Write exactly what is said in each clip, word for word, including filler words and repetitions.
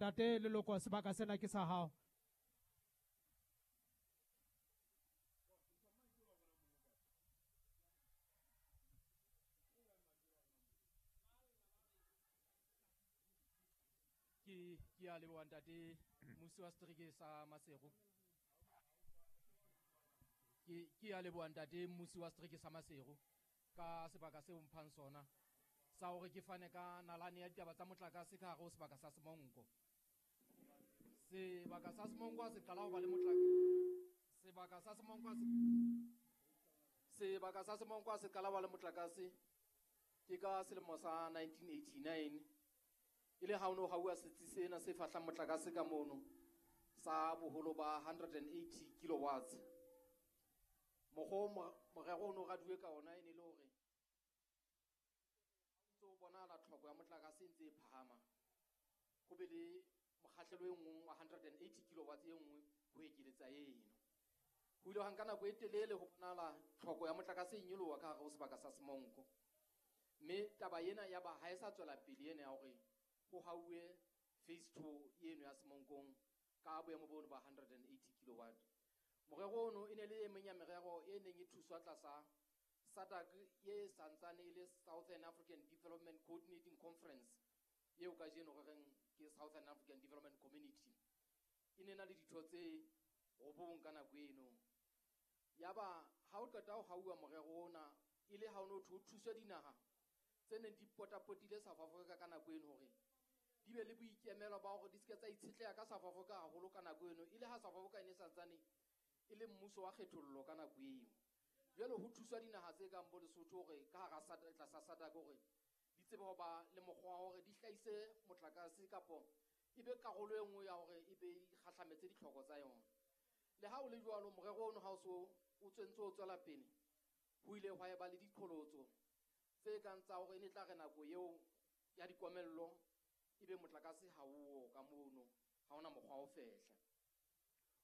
Ntate Leloko, sebaka sena ke sa hao. Ke ke a leboha ntate mmusi wa setereke sa Maseru. Ke ke a leboha ntate mmusi wa setereke sa Maseru ka sebaka seo mphang sona sa hore ke fane ka nalane ya ditaba tsa motlakase ka hare ho sebaka sa Semonko. Sebaka sa Semonko se qala ho ba le motlakase. Sebaka sa Semonko se Sebaka sa Semonko se qala ho ba le motlakase ke ka selemo sa nineteen eighty-nine. E le ha o no hauwa setsi sena se fahlang motlakase ka mono sa boholo ba one hundred and eighty kilowatts. Mokgwa morero o no raduwe ka ona e ne le hore ntse o bonahala tlhoko ya motlakase e ntse e phahama, ho be le mokgahlelo e nngwe wa one hundred and eighty kilowatts e nngwe ho ekeletsa eno. Ho ile ha nka nako e telele ho bonahala tlhoko ya motlakase e nyoloha ka hare ho sebaka sa Semonko. Mme taba ena ya ba ha e sa tswela pele ena ya hore ho hauwe phase two eno ya Semonkong ka boemo bono ba one hundred and eighty kilowatt. Morero ono e ne le e meng ya merero e neng e thuswa tlasa SADC ye santsane e le Southern African Development Coordinating Conference eo kajeno re reng ke Southern African Development Community. E ne na le ditho tse robong ka nako eno. Yaba ha o qeta ho hauwa morero ona e le ha o no ho thuswe dinaha tse neng di potapotile South Africa ka nako eno hore di be le boikemelo ba hore di se ke tsa itshetleha ka South Africa haholo ka nako eno, e le ha South Africa e ne santsane e le mmuso wa kgethollo ka nako eo. Jwale ho thuswa dinaha tse kang bo Lesotho hore ka hara SADC, tlasa SADC hore di tsebe ho ba le mokgwa wa hore di hlahise motlakase kapo e be karolo e nngwe ya hore e be e kgahlametse ditlhoko tsa yona. Le ha o le jwalo, morero ono ha o so o tswentse o tswela pele, ho ile hwa eba le diqholotso tse kang tsa hore e ne tla re nako eo ya dikomello ebe motlakase ha o ka mono, ha ona mokgwa o fehla.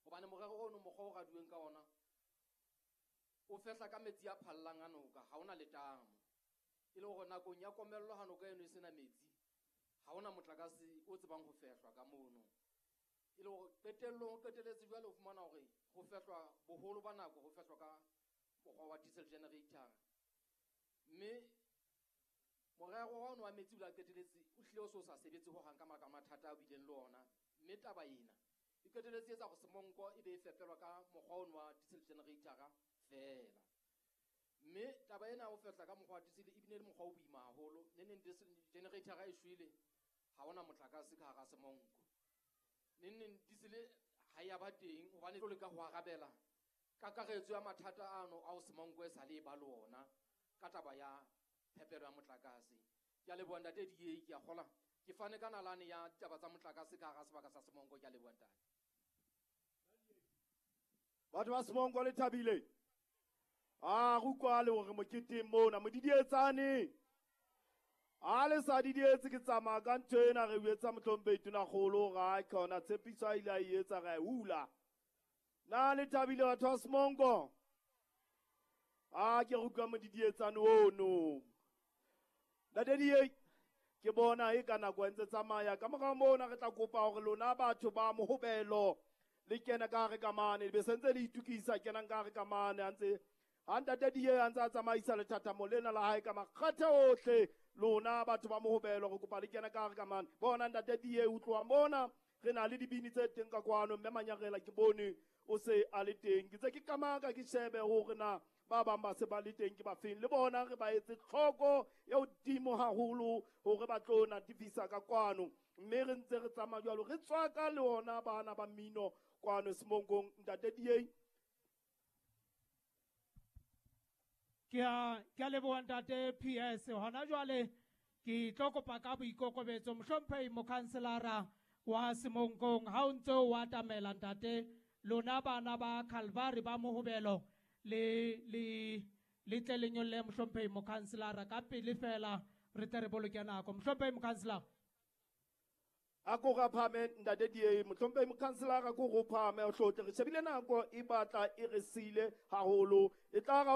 Hobane morero ono mokgwa o raduweng ka ona o fehla ka metsi a phallang a noka, ha ona letamo. E le hore nakong ya komello ha noka eno e sena metsi, ha ona motlakase o tsebang ho fehlwa ka mono. E le hore qetellong o qetelletse jwale o fumana hore ho fehlwa boholo ba nako ho fehlwa ka mokgwa wa diesel generator. Mme morero wa ono wa metsi o la qetelletse o hlile o so sa sebetse ho hang ka maka mathata a bileng le ona. Mme taba ena e qetelletse e etsa hore Semonko e be e fepelwa ka mokgwa ono wa diesel generator fela. Mme taba ena o fehla ka mokgwa wa diesel e bile le mokgwa o boima haholo. Ne neng diesel generator e shwele, ha ona motlakase ka hara Semonko. Ne neng diesel ha ya ba teng hobane tlo leka ho arabela kakaretso ya mathata ano ao Semonko e sa le ba le ona ka taba ya phepelo ya motlakase. Ke a leboha ntate D A, ke a kgola ke fane ka nalane ya ditaba tsa motlakase ka hara sebaka sa Semonko. Ke a leboha ntate. Batho ba Semonko le thabile. A re utlwale hore moketeng mona modidietsane. A le sa didietse ke tsamaya ka ntho ena re etsa mohlomphehi Tonakgolo ga khona tshepiso a ile a e etsa ra e hula. Na le thabile batho ba Semonko? A ke re utlwa modidietsane ono. Ntate D A, ke bona e ka nako e ntse tsamaya. Ka mora mona re tla kopa hore lona batho ba Mohobelo le kene ka hare ka mane, le be sentse le itukisa kenang ka hare ka mane. A ntse ha ntate D A a ntse a tsamaisa lethathamo lena la hae ka makgathe ohle, lona batho ba Mohobelo re kopa le kene ka hare ka mane. Bona ntate D A utloa mona re na le dibini tse teng ka kwano, mme Manyarela ke bone o se a le teng. Ke tse ke kamaka ke shebe hore na ba bang ba se ba le teng ke ba feng, le bona re ba etse tlhoko e hodimo haholo hore ba tlo natifisa ka kwano. Mme re ntse re tsamaya jwalo, re tswaka le ona bana ba mmino kwano Semonkong. Ntate D A. Ke a, ke a leboha ntate P S. Hona jwale ke tlo kopa ka boikokobetso mohlomphehi mokhanselara wa Semonkong, ha o ntse o atamela ntate, lona bana ba Calvary ba Mohobelo le, le, le tle le nyolle mohlomphehi mokhanselara ka pele fela re tle re boloke nako. Mohlomphehi mokhanselara. A ko ra phame ntate D A, mohlomphehi mokhanselara ko go phame o hlotle re shebile nako e batla e re sile haholo. E tla ra